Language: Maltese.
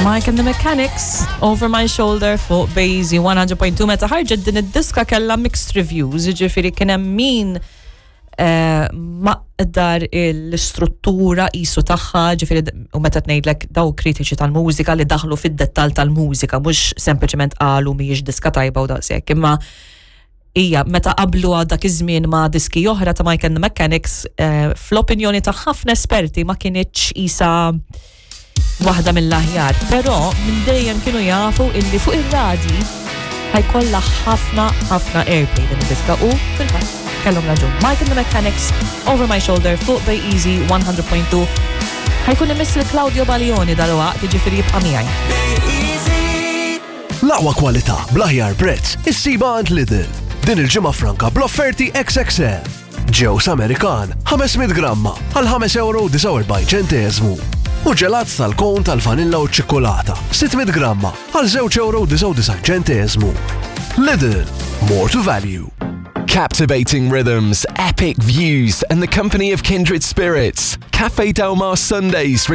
Mike and the Mechanics, Over My Shoulder fuq Bazy 100.2 meta ħarġet din id-diska kellha mixed reviews, jiġifieri kien hemm min eh, maqdar l-istruttura qisu tagħha, ġifieri u meta tgħidlek daw kritiċi tal-mużika li daħlu fid-dettall tal-mużika, mhux sempliċement qalu mhijiex diska tajba u daqshekk, imma hija meta qablu dak iż-żmien ma' diski oħra ta' Mike and the Mechanics, eh, fl-opinjoni ta' ħafna esperti ma kinitx isa waħda mill-aħjar. Però minn dejjem kienu jafu illi fuq ir-radji ħa jkollha ħafna ħafna airplay din id-diska u fil-fatt kellhom raġun. Mike and the Mechanics, Over My Shoulder fuq Bay Easy 100.2. Ħa jkun imiss lil Claudio Baglioni dalwaqt, jiġifieri jibqa' miegħi. L-aqwa kwalità bl-aħjar prezz issibha għand Lidl. Din il-ġimgħa franka bl-offerti XXL. Ġewż Amerikan 500 gramma għal 5 euro 49 ċenteżmu. U ġelat tal-kon tal-vanilla u ċikkulata 600 gramma għal 2 euro 99 ċenteżmu. Lidl, more to value. Captivating rhythms, epic views, and the company of kindred spirits. Cafe Del Mar Sundays.